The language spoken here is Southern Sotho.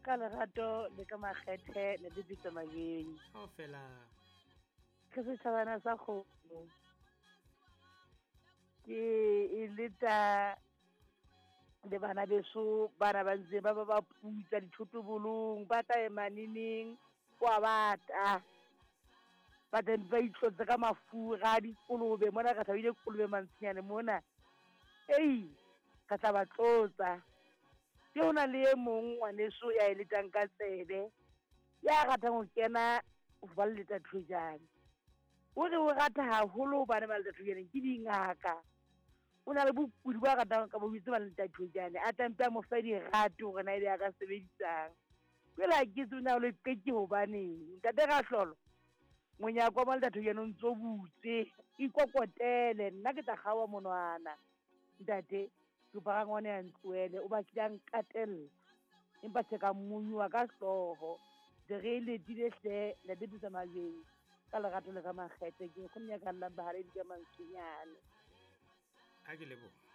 Ka lerato le ka makgethe ne di bitsa majeng. Kaofela. Ke setjhabana sa kgomo. Ke e leta le bana beso bana ba ntse ba ba ba putsa dithotobolong ba tla ema neneng kwa bata ba tla ba itlotse ka mafura a dikolobe mona re thabile kolobe mantshinyane mona ei re tla ba tlotsa ke ho na le e mong ngwaneso ya e letang ka tsebe ya ratang ho kena ho ba leta thojane o re o rata haholo hobane ba leta thojane ke dingaka o na le bokudi ba ratang ka bo bitse ba leta thojane a tlampe a mo fe dirato hore na ebe a ka sebedisang jwale ha ke tsebe na o le qeke hobaneng ntate Rahlolo monyako wa maleta thojane o ntso butse ikokotele nna ke tla kgaoha monwana ntate kopa rangwane ya ntlohele o batlile a nkatella empa se ka monywa ka hlooho de re e letile hle ntate Pitsa Majweng ka lerato le ka makgethe ke nkgonne ya ka llang bahaledi ka mantswenyane. A ke leboha.